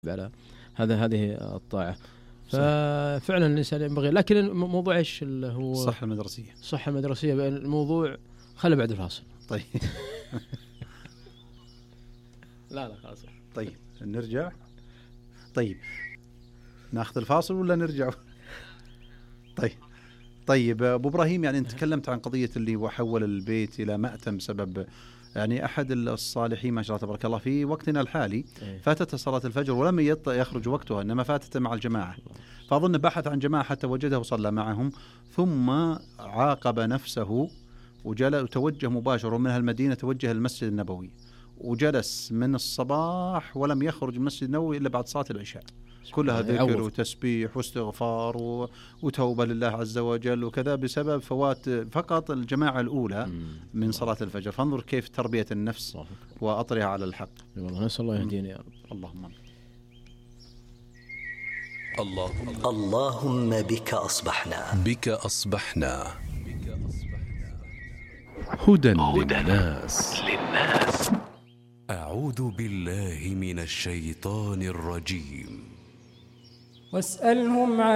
على هذه الطاعة. ففعلا الإنسان ينبغي، لكن موضوع إيش اللي هو الصحة المدرسية الموضوع خلي بعد الفاصل. طيب لا خلاص. طيب نرجع. طيب ناخذ الفاصل ولا نرجع؟ طيب أبو إبراهيم، يعني أنت تكلمت عن قضية اللي وحول البيت إلى مأتم بسبب يعني أحد الصالحين ما شاء الله تبارك الله في وقتنا الحالي فاتت صلاة الفجر ولم يخرج وقتها، إنما فاتت مع الجماعة، فأظن بحث عن جماعة حتى وجده وصلى معهم، ثم عاقب نفسه وتوجه مباشرة من هالمدينة، توجه المسجد النبوي وجلس من الصباح ولم يخرج من المسجد النبوي إلا بعد صلاة العشاء، كلها ذكر وتسبيح واستغفار وتوبة لله عز وجل وكذا، بسبب فوات فقط الجماعة الأولى من صلاة الفجر. فانظر كيف تربية النفس وأطرها على الحق. والله نسأل الله يهدينا يا رب. اللهم بك أصبحنا هدى للناس. أعوذ بالله من الشيطان الرجيم. واسألهم